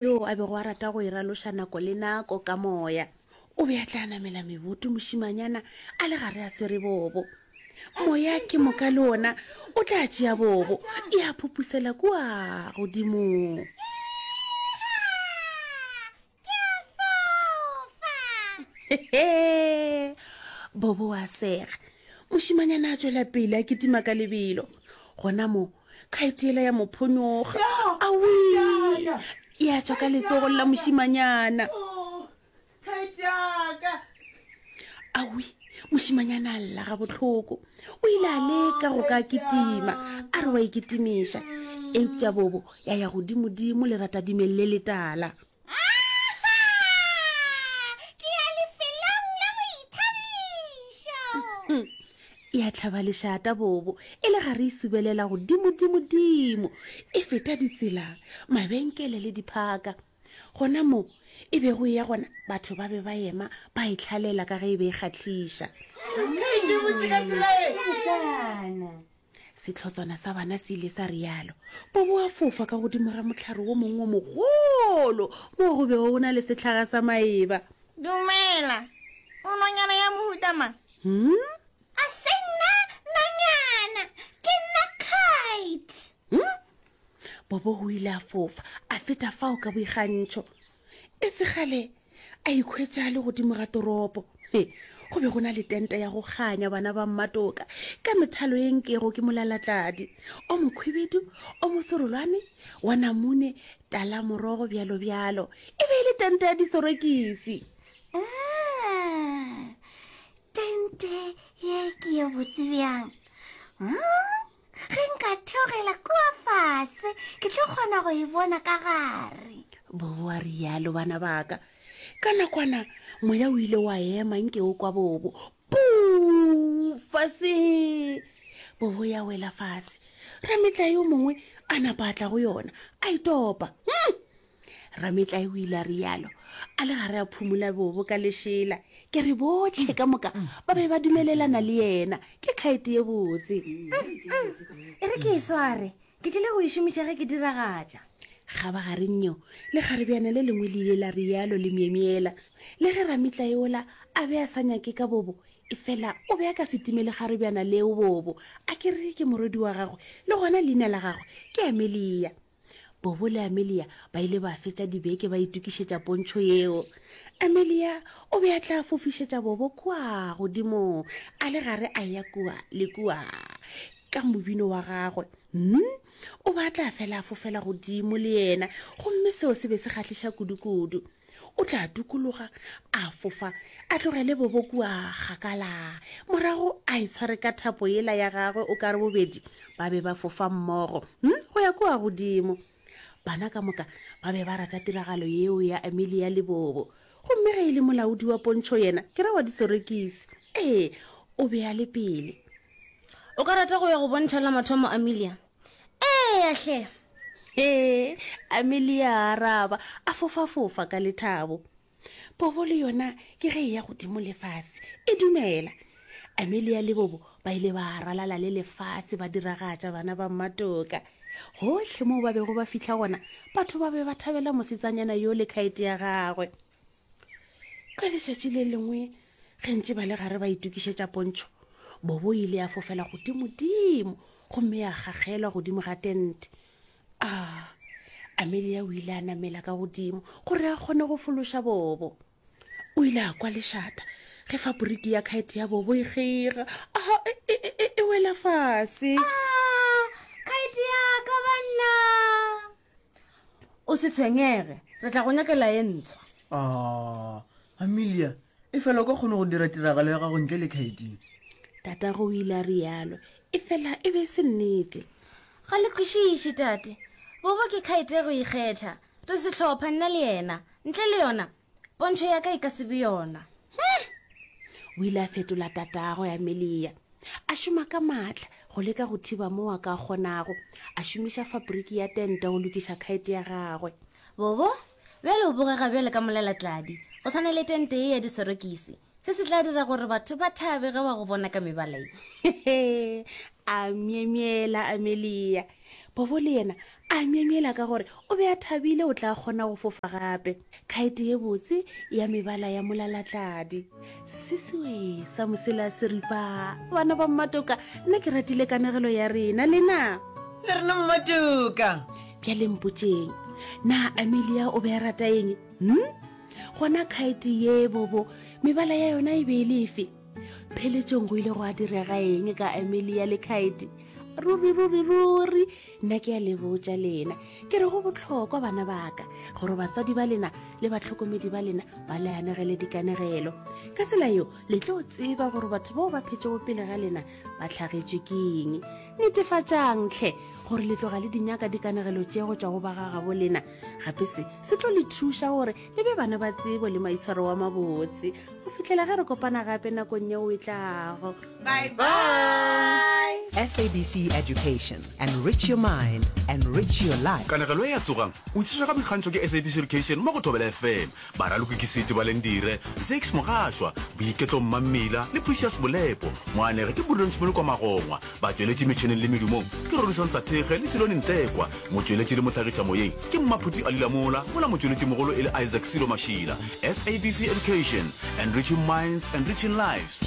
Yoo a bego a rata go e raloša nako le nako ka moya. O be a tla namela meboto mošimanyana a le gare a swere bobo. Moya ke moka le ona o tla tšea bobo ya phupusela kua godimo. Bobo wa sega. Mošimanyana a tšwela pele a kitima ka lebelo. Gona mo khaete yela ya mo phonyoga. Awi! Ya tšwa ka letsogong la mošimanyana. Awi! Mošimanyana a lla gabohloko. O ile a leka go ka kitima, a re wa ikitimiša. Eupša bobo ya ya godimodimo leratadimeng le letala. Ke ya lefelong la boithabišo. Ya tlhaba lešata bobo e le gare e subelela godimodimodimo e feta ditsela, mabenkele le diphaka. Gona mo e bego e ya gona batho ba be ba ema ba e hlalela ka ge e be e kgahliša. Sehlotswana sa bana se ile sa realo. Bobo a fofa ka godimo ga mohlare wo mongwe wo mogolo moo go bego go na le sehlaga sa maeba. Dumela. O nonyana ya mohuta mang? Hmm? A se nna nonyana, ke nna kite. Hmm? Bobo o ile a fofa a feta fao ka boikgantšho. E se kgale a ikhwetša a le godimo ga toropo. He, go be go na le tente ya go kganya bana ba mmatoka ka methalo ye nkego ke molalatladi, o mokhwibedu, o moserolwane, wa namune, tala morogo, bjalo bjalo. E be e le tente ya disorokisi. Ah, tente ye ke ye botse bjang. Hmm? Ge nka theogela kua fase, ke tlo kgona go e bona ka gare. Bobo a rialo, bana ba ka. Ka nakwana, moya o ile wa ema nke o kwa Bobo. Puu! Fase! Bobo ya wela fase. Rametlae yo mongwe a napa a tla go yona, a e topa. Hmm! Rametlae o ile a rialo a le gare a phumola bobo ka lešela. Ke re bohle ka moka ba be ba dumelelana le yena. Ke khaete ye botse. E re ke e sware, ke tlile go e šomiša ge ke diragatša. Kgabagareng yeo, lekgarebjana le lengwe le ile la rialo le myemyela. Le ge rametlae ola a be a sa nyake ka bobo, efela o be a ka se time lekgarebjana leo bobo. A ke re ke morwedi wa gagwe, le gona leina la gagwe ke Amelia. Bobo le Amelia ba ile ba fetša dibeke ba itokišetša pontšho yeo. Amelia o be a tla fofišetša Bobo kua godimo a le gare a eya kua le kua ka mobino wa gagwe. Hmm? O be a tla fela a fofela godimo le yena gomme seo se be se kgahliša kudu-kudu. O tla dukologa, a fofa, a tlogele Bobo kua kgakala, morago a itshware ka thapo yela ya gagwe o ka re bobedi ba be ba fofa mmogo, hm, go ya kua godimo. Bana ka moka ba be ba rata tiragalo yeo ya Amelia le Bobo. Gomme ge e le molaodi wa pontšho yena, ke ra wa disorekisi, ee, o be a le pele. O ka rata go ya go bontšha la mathomo, Amelia? Eya hle! Ee, Amelia a araba, a fofafofa ka lethabo. Bobo le yona ke ge e ya godimo le fase, e dumela. Amelia le Bobo ba ile ba ralala le lefase ba diragatša bana ba mmatoka. Gohle moo ba bego ba fihla gona, batho ba be ba thabela mosetsanyana yo le khaete ya gagwe. Ka letšatši le lengwe ge ntše ba le gare ba itokišetša pontšho, Bobo ile ya fofela godimodimo gomme ya gagelwa godimo ga tente. A Amelia o ile a namela ka godimo gore a kgone go fološa Bobo. O ile a kwa lešata ge faporiki ya khaete ya Bobo e kgeiga, a e, e, e, e wela fase. Khaete ya ka banna! O se tshwenyege, re tla go nyakela ye ntshwa. Ah, Amelia, efela o ka kgona go dira tiragalo ya gago ntle le khaeting. Tatago o ile a rialo, efela e be e se nnete. Ga le kwešiše, tate. Bobo ke khaete ya go ikgetha. Re sehlopha, nna le yena. Ntle le yona, pontšho ya ka e ka se be yona. O ile a fetola tatagwe, Amelia. A šoma ka maatla go leka go thiba moo a ka kgonago. A šomiša fabriki ya tente go lokiša khaete ya gagwe. Bobo, bjale o bogega bjale ka molalatladi, go swana le tente ye ya disorokisi. Se se tla dira gore batho ba thabe ge ba go bona ka mebala ye. A myemyela Amelia. Bobo le yena a myemyela ka gore o be a thabile o tla kgona go fofa gape. Khaete ye botse ya mebala ya molalatladi. Sisiwe sa mosela seripa. Bana ba Mmatoka, nna ke ratile kanegelo ya rena, lena? Le rena Mmatoka. Bjale mpotšeng, na Amelia o be a rata eng? Hm? Gona khaete ye bobo, mebala ya yona e be e le efe? Pheletšong go ile gwa direga eng ka Amelia le khaete? Ruri, ruri, ruri, nna ke a le botša lena. Ke re go bohlokwa bana baka gore batswadi ba lena le bahlokomedi ba lena ba le anegele dikanegelo. Ka tsela yeo le tlo tseba gore batho bao ba phetšego pele ga lena ba hlagetšwe ke eng. Netefatšang hle gore le tloga le di nyaka dikanegelo tše go tšwa go ba ga gabo lena. Gape se se tlo le thuša gore le be bana ba tsebo le maitshwaro wa mabotse go fihlela ge re kopana gape nakong yeo e tlago. Bye bye. SABC Education, enrich your mind, enrich your life. Kanegelo ye ya Tsogang! O tlišwa ka boikgantšho ke SABC Education mo go Thobela FM. Baraloki ke Seti Balendire, Zakes Mogašwa, Boiketlo Mmammila le Precious Bolepo. Moanegi ke Prudence Molokwa Magongwa. Batšweletši metšheneng le medumong ke Rorisang Sathekge le Silone Ntlekwa. Motšweletši le mohlagišamoyeng ke Mmaphuti Ali Lamola, mola motšweletšimogolo e le Isaac Silo Mašila. SABC Education, enriching minds, enriching lives.